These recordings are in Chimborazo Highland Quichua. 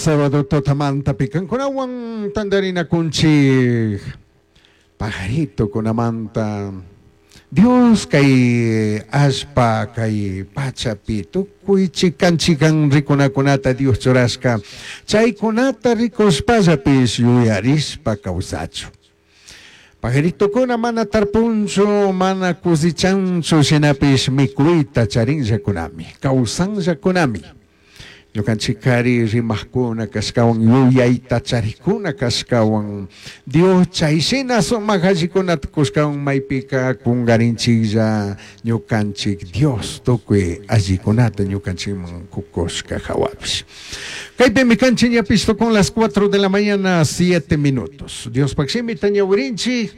Sábado tutamantapi kankunawan tantarinakunchik pajaritokunamanta. Dios kay allpa kay pachapi tukuy chikan chikan rikunakunata Dios churashka chaykunata rikushpallapish yuyarishpa kawsachun. Pajaritokuna mana tarpunchu, mana cosechanchu, shinapish mikuyta charinllakunami, kawsanllakunami. Ñukanchikari rimajkuna kashkawan, yuyayta charikuna kashkawan, Dios chay shina sumak allikunata kushkawan maypika kungarinchiklla ñukanchik Dios tukuy allikunata ñukanchikman kukushka jawapish. Kaypimi kanchik ñapish tukun las 4 de la mañana 7 minutos. Diospak shimita ñawirinchik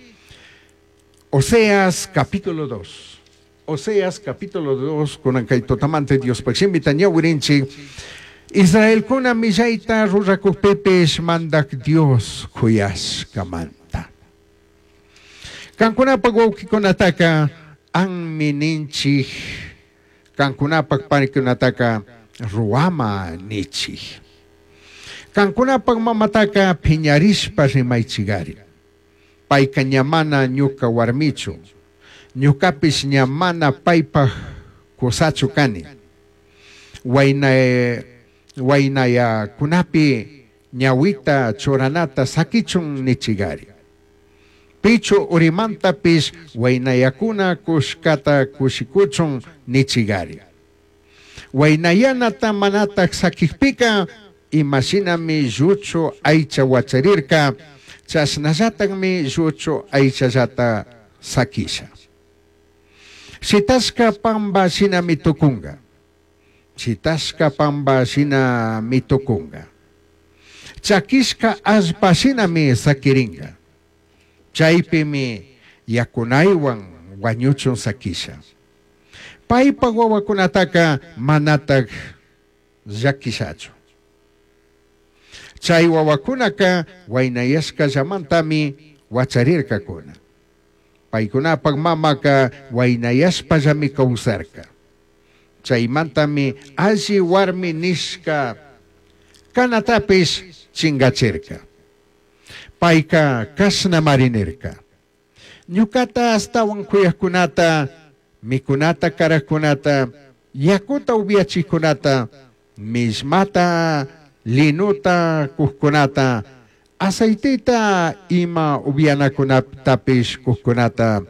Oseas capítulo 2. Oseas capítulo 2 kunan kay tutamanta Diospak shimita ñawirinchik Israelkuna millayta rurakukpipish mandak Dios kuyashkamanta. Kankunapak wawkikunataka anmi ninchik, kankunapak panikunataka ruwama nichik. Kankunapak mamataka phiñarishpa rimaychigari. Payka ña mana ñuka warmichu, ñukapish ña mana paypak kusachu kani. Wayna waynayakunapi ñawita churanata sakichun nichigari. Pichu urimantapish waynayakuna kushkata kushikuchun nichigari. Waynayanata manatak sakikpika imashinami lluchu aycha wacharirka, chashnallatakmi lluchu aychallata sakisha. Shitashka pamba shinami tukunga. Shitashka pamba shinami tukunga. Chakishka allpa shinami sakiringa. Chaypimi yakunaywan wañuchun sakisha. Paypak wawakunataka manatak llakishachu. Chay wawakunaka waynayashkallamantami wacharirkakuna. Paykunapak mamaka waynayashpallami kawsarka. Chaymantami alli warmi nishka kanatapish chingachirka. Payka kashnamari nirka. Ñukata ashtawan kuyakkunata, mikunata karakkunata, yakuta upiachikkunata, millmata, linuta kukkunata, aceiteta ima upianakunatapish kukkunata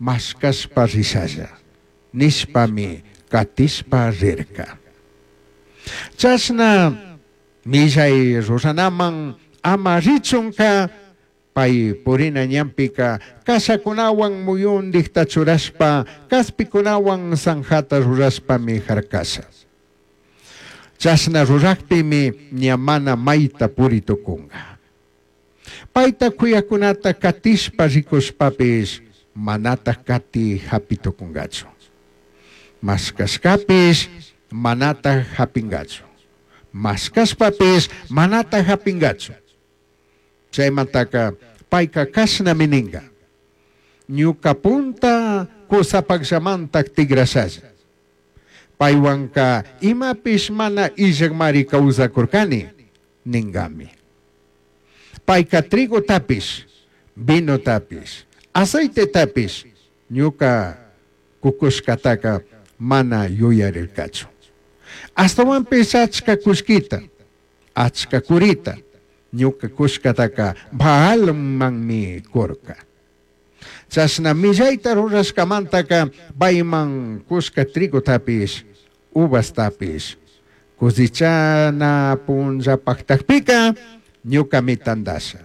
mashkashpa rishalla, nishpami katishpa rirka. Chashna millay ruranaman ama richunka pay purina ñanpika kashakunawan muyundikta churashpa kaspikunawan zanjata rurashpami harkasha. Chashna rurakpimi ña mana mayta puri tukunga. Payta kuyakunata katishpa rikushpapish manatak kati hapi tukungachu. Mashkashkapish manatak hapingachu. Mashkashpapish manatak hapingachu. Chaymantaka payka kashnami ninga. Ñuka punta kusapaklamantak tigrashalla. Paywanka imapish mana illakmari kawsakurkani ningami. Payka trigotapish, vinotapish, aceitetapish ñuka kukushkataka mana yuyarirkachu. Ashtawanpish achka kullkita, achka kurita ñuka kushkataka Baalmanmi kurka. Chashna millayta rurashkamantaka payman kushka trigotapish, uvastapish, cosechana punllapaktakpika ñukami tandasha.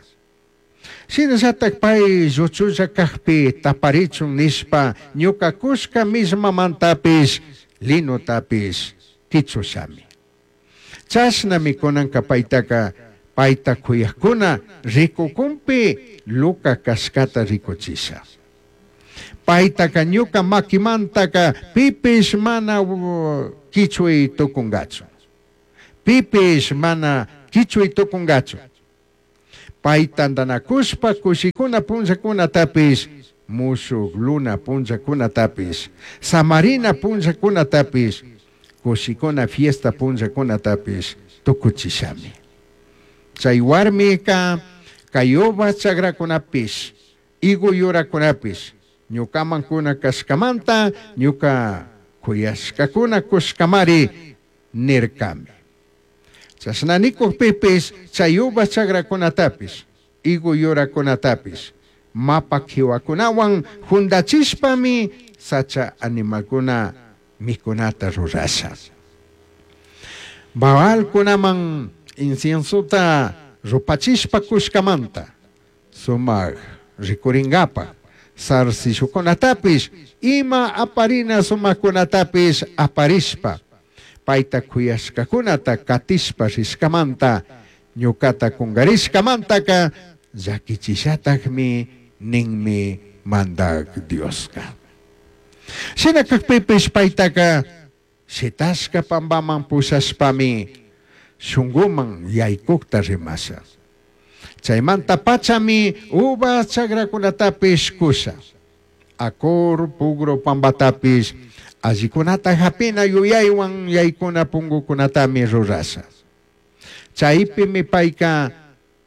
Shinallatak pay lluchulla kakpi taparichun nishpa ñuka kushka millmamantapish, linotapish kichushami. Chashnami kunanka paytaka payta kuyakuna rikukunpi luka kashkata rikuchisha. Paytaka ñuka makimantaka pipish mana kichuy tukungachu. Pipish mana kichuy tukungachu. Pay tantanakushpa kushikuna punllakunatapish, mushuk luna punllakunatapish, samarina punllakunatapish, kushikuna fiesta punllakunatapish tukuchishami. Chai huarmica cai uva chagracunapish, higo yuracunapish ñucaman cuna cashcamanta ñuca cuyashcacuna cushcamari nircami. Chashna nicujpipish chai uva chagracunatapish, higo yuracunatapish mapa quihuacunahuan jundachishpami sacha animalcuna micunata rurasha. Baalcunaman inciensota rupachishpa cushcamanta sumaj ricuringapaj zarcillocunatapish, ima aparina sumajcunatapish aparishpa, paita cuyashcacunata catishpa rishcamanta, ñucata cungarishcamantaca llaquichishatajmi ninmi Mandaj Diosca. Shina cajpipish paitaca shitashca pambaman pushashpami shunguman yaicujta rimasha. Chaimanta pachami uva chagracunatapish cusha. Acor pugru pambatapish allicunata japina yuyaihuan yaicuna pungucunatami rurasha. Chaipimi paica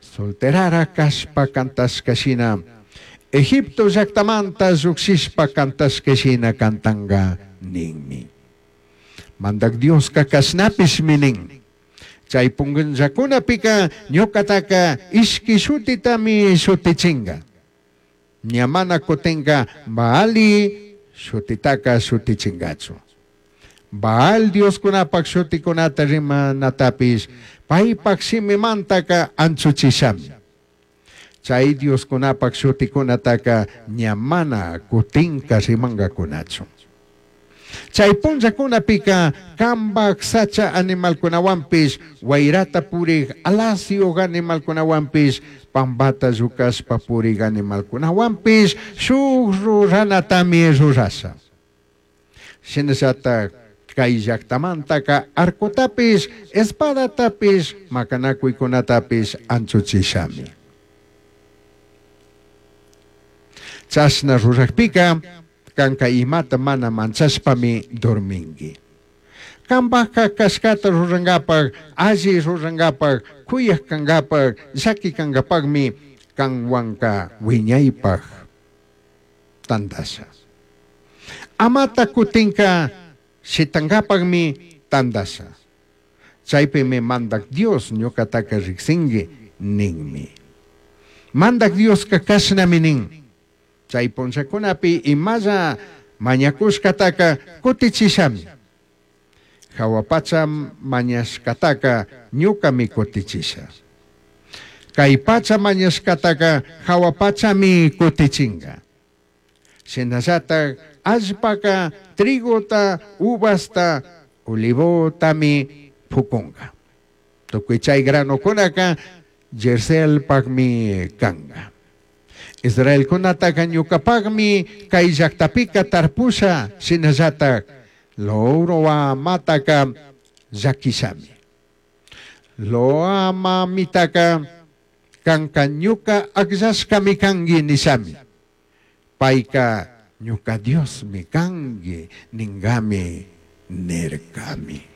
solterara cashpa cantashca shina, Egipto llajtamanta llujshishpa cantashca shina cantanga ninmi. Mandaj Diosca cashnapishmi nin. Chai punllacunapica ñucataca ishqui shutitami shutichinga. Ña mana cutinca Baali shutitaca shutichingachu. Baal dioscunapaj shuticunata rimanatapish paipaj shimimantaca anchuchishami. Chai dioscunapaj shuticunataca ña mana cutinca rimangacunachu. Chai punllacunapica cambaj sacha animalcunahuanpish, huairata purij alasyuj animalcunahuanpish, pambata llucashpa purij animalcunahuanpish shuj ruranatami rurasha. Shinallataj cai llajtamantaca arcotapish, espadatapish, macanacuicunatapish anchuchishami. Chashna rurajpica canca imata mana manchashpami dormingui. Cambajca cashcata rurangapaj, alli rurangapaj, cuyaj cangapaj, llaqui cangapajmi canhuanca huiñaipaj tandasha. Amata cutinca shitangapajmi tandasha. Chaipimi Mandaj Dios ñucataca rijsingui ninmi. Mandaj Diosca cashnami nin. Chai punllacunapi imalla mañacushcataca cutichishami. Jahua pacha mañashcataca ñucami cutichisha. Cai pacha mañashcataca jahua pachami cutichinga. Shinallataj allpaca trigota, uvasta, olivotami pucunga. Tucui chai granocunaca Jezreelpajmi canga. Israelcunataca ñucapajmi cai llajtapica tarpusha, shinallataj Lo-ruhamataca llaquishami. Lo-amamitaca canca ñuca agllashcami cangui nishami. Paica ñuca Diosmi cangui ningami nircami.